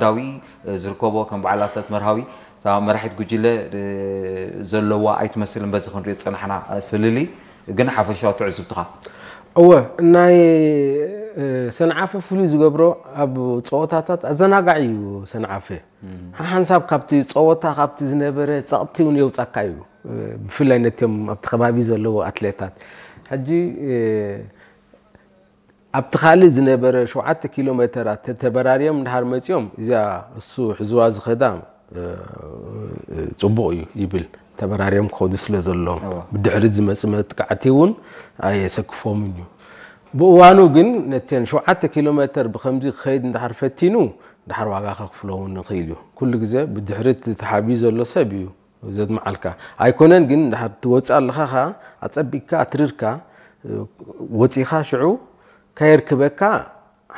ዳዊ ዝርከቦ ከም በዓል ኣትለት መርሃዊ እታ መራሒት ጉጅለ ዘለዋ ኣይትመስልን። በዚ ክንሪኦ ዝጸናሕና ፍልልይ ግን ሓፈሻዊ ትዕዝብትኻ? እወ፣ ናይ ሰንዓፈ ፍሉይ ዝገብሮ ኣብ ፀወታታት ኣዘናጋዒ እዩ። ሰንዓፈ ሓንሳብ ካብቲ ፀወታ ካብቲ ዝነበረ ፀቕቲ እውን የውፃካ እዩ። ብፍላይ ነቲኦም ኣብቲ ከባቢ ዘለዉ ኣትሌታት ሕጂ ኣብቲ ካልእ ዝነበረ ሸውዓተ ኪሎ ሜተራት ተተበራርዮም እንድሓር መፂኦም እዚኣ እሱ ሕዝዋ ዝኸዳ ፅቡቕ እዩ ይብል። ተበራርዮም ክኸዱ ስለ ዘለዎም ብድሕሪት ዝመፅ መጥቃዕቲ እውን ኣየሰክፎምን እዩ። ብእዋኑ ግን ነተን ሸውዓተ ኪሎ ሜተር ብከምዚ ክኸይድ እንድሓር ፈቲኑ ድሓር ዋጋ ከኽፍሎ እውን ይኽእል እዩ። ኩሉ ግዜ ብድሕሪት ተሓቢኡ ዘሎ ሰብ እዩ ዘድምዓልካ ኣይኮነን። ግን ድሓር ትወፅእ ኣለኻ ኸዓ ኣፀቢቅካ ኣትሪርካ ወፂኻ ሽዑ ከየርክበካ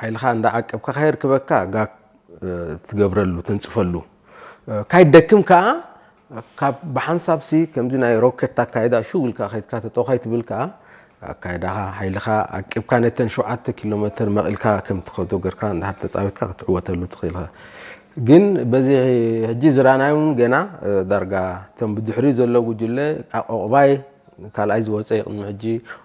ሓይልኻ እንዳዓቀብካ ከየርክበካ ጋክ ትገብረሉ ተንፅፈሉ ካይደክም ከዓ ካብ ብሓንሳብ ሲ ከምዚ ናይ ሮኬት ኣካይዳ ሽው ኢልካ ከይድካ ተጠው ካይትብል ከዓ ኣካይዳኻ ሓይልኻ ዓቂብካ ነተን ሸውዓተ ኪሎ ሜተር መቒልካ ከም ትኸዶ ገርካ እንድሕር ተፃዊትካ ክትዕወተሉ ትኽእል ኢኻ። ግን በዚ ሕጂ ዝራናይ እውን ገና ዳርጋ እቶም ብድሕሪኡ ዘሎ ጉጅለ ዑቕባይ ካልኣይ ዝወፀ እዩ። ቅድሚ ሕጂ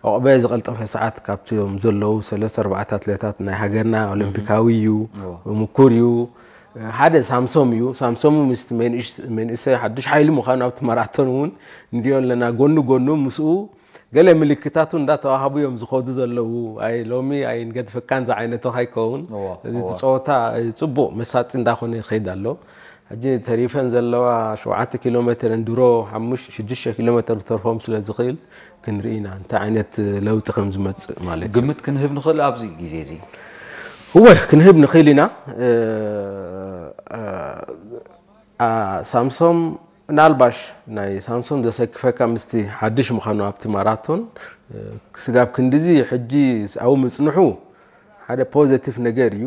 ዑቕበ ዝቐልጠፈ ሰዓት ካብቶም ዘለዉ ሰለስተ ኣርባዕተ ኣትሌታት ናይ ሃገርና ኦሎምፒካዊ እዩ፣ ምኩር እዩ። ሓደ ሳምሶም እዩ። ሳምሶም ምስ መንእሰይ ሓዱሽ ሓይሊ ምዃኑ ኣብቲ ማራቶን እውን ንሪኦ ኣለና። ጎኑ ጎኑ ምስኡ ገለ ምልክታቱ እንዳተዋሃቡ እዮም ዝኸዱ ዘለዉ። ኣይ ሎሚ ኣይንገድፈካን ዝዓይነቱ ከይከውን እዚ ጸወታ ጽቡቕ መሳጢ እንዳኾነ ይኸይድ ኣሎ። ሕጂ ተሪፈን ዘለዋ ሸውዓተ ኪሎ ሜተር እንድሮ ሓሙሽተ ሽዱሽተ ኪሎ ሜተር ክተርፎም ስለ ዝኽእል ክንርኢ ኢና እንታይ ዓይነት ለውጢ ከም ዝመጽእ ማለት እዩ። ግምት ክንህብ ንኽእል ኣብዚ ግዜ እዚ? እወ ክንህብ ንኽእል ኢና። ሳምሶም ምናልባሽ ናይ ሳምሶም ዘሰክፈካ ምስቲ ሓድሽ ምዃኑ ኣብቲ ማራቶን ስጋብ ክንድዚ ሕጂ ኣብኡ ምጽንሑ ሓደ ፖዘቲቭ ነገር እዩ።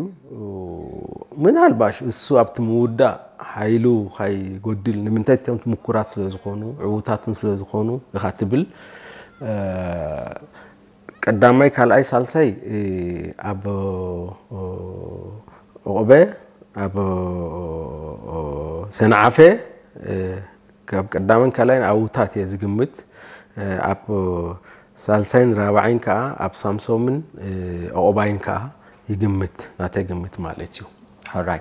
ምናልባሽ እሱ ኣብቲ ምውዳእ ሓይሉ ካይጎድል ንምንታይ እቶም ምኩራት ስለ ዝኾኑ ዕዉታትን ስለ ዝኾኑ ኢኻ ትብል። ቀዳማይ ካልኣይ ሳልሳይ ኣብ ዑቕበ ኣብ ሰንዓፈ ካብ ቀዳምን ካልኣይን ኣብታት እየ ዝግምት። ኣብ ሳልሳይን ራብዓይን ከዓ ኣብ ሳምሶምን ዑቕባይን ከዓ ይግምት ናተይ ግምት ማለት እዩ። ሕራይ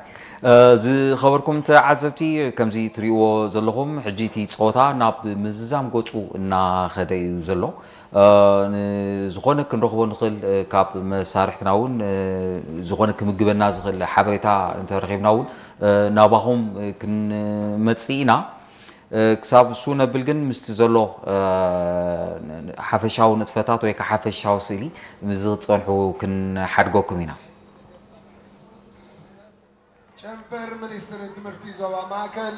ዝኸበርኩም ተዓዘብቲ ከምዚ ትሪእዎ ዘለኹም ሕጂ እቲ ፀወታ ናብ ምዝዛም ገፁ እናኸደ እዩ ዘሎ። ንዝኾነ ክንረኽቦ ንኽእል ካብ መሳርሕትና እውን ዝኾነ ክምግበና ዝኽእል ሓበሬታ እንተረኺብና እውን ናባኹም ክንመፅእ ኢና። ክሳብ እሱ ነብል ግን ምስቲ ዘሎ ሓፈሻዊ ንጥፈታት ወይ ከዓ ሓፈሻዊ ስእሊ ምስዚ ክትፀንሑ ክንሓድገኩም ኢና። ጨንፈር ሚኒስትሪ ትምህርቲ ዞባ ማእከል